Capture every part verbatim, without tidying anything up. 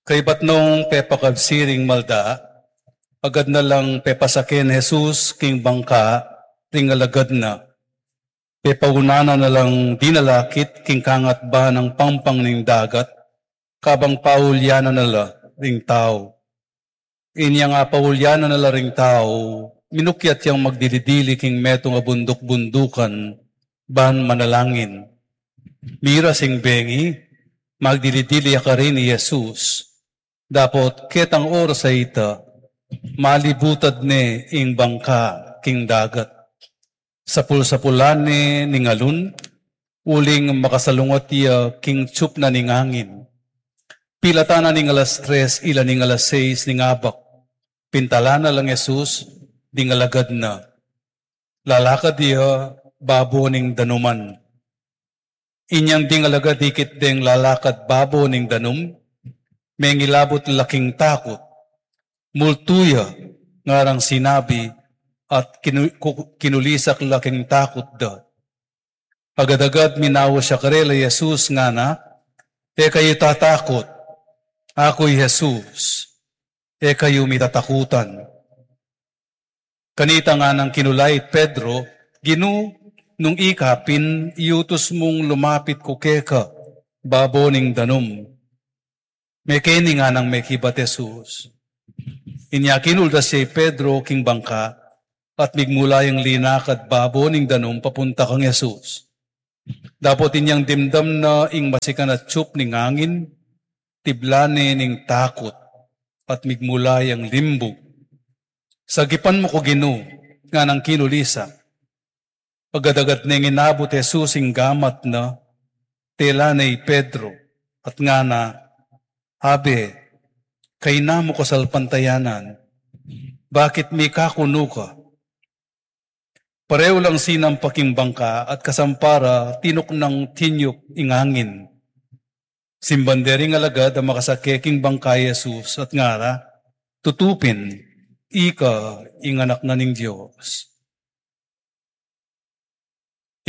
Kaybat nung pepakabsi ring malda, agad na lang pepasake nang Jesus king bangka ring alagad na. Pepaunanan na lang dinalakit king kangatba nang pampang ning dagat, kabang paulyanan na la ring tau. Inyang apaulyanan na la ring tau, minukyat yang magdili-dili king metung a bunduk-bundukan, ban manalangin. Miras ing bengi, magdili-dili ya karin i Jesus. Dapot ketang oras a ita, malibutad ne ing bangka king dagat. Sapul-sapulan ne ning alun, uling makasalungat ya king tsup na ning angin. Pilatan na ning alas tres, ila ning alas seis ning abak. Pintalan na lang Jesus ding alagad na. Lalakad ya babo ning danuman. Inyang ding alagad ikit deng lalakad babo ning danum, mengilabut la king takut. Multu ya, ngarang sinabi, at kinu-, ku-, kinulisak la king takut da. Agad-agad minaus ya karela i Jesus ngana, "E kayu tatakut, aku i Jesus, e kayu mitatakutan." Kanita nganang kinulait Pedro, "Ginu, nung ika pin, iutus mung lumapit ku keka babo ning danum." "Mekeni," nganang mekibat Jesus. Inya kinuldas ya i Pedro king bangka, at migmula yang linakad babo ning danum papunta kang Jesus. Dapot inyang dimdam na ing masikan a tsup ning angin, tibla ne ning takut, at migmula yang limbug. "Sagipan mu ku, Ginu," nganang kinulisak. Agad-agad neng inabut Jesus ing gamat na, tela ne i Pedro, at ngana, "Abe, kayna mu kasalpantayanan, bakit mikakunu ka?" Pareu lang sinampa king bangka at kasampara tinuknang tinyup ing angin. Simban de ring alagad a makasake king bangka i Jesus at ngara, "Tutu pin, ika ing Anak na ning Dios."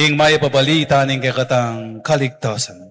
Ing Mayap a Balita ning kekatang kaligtasan.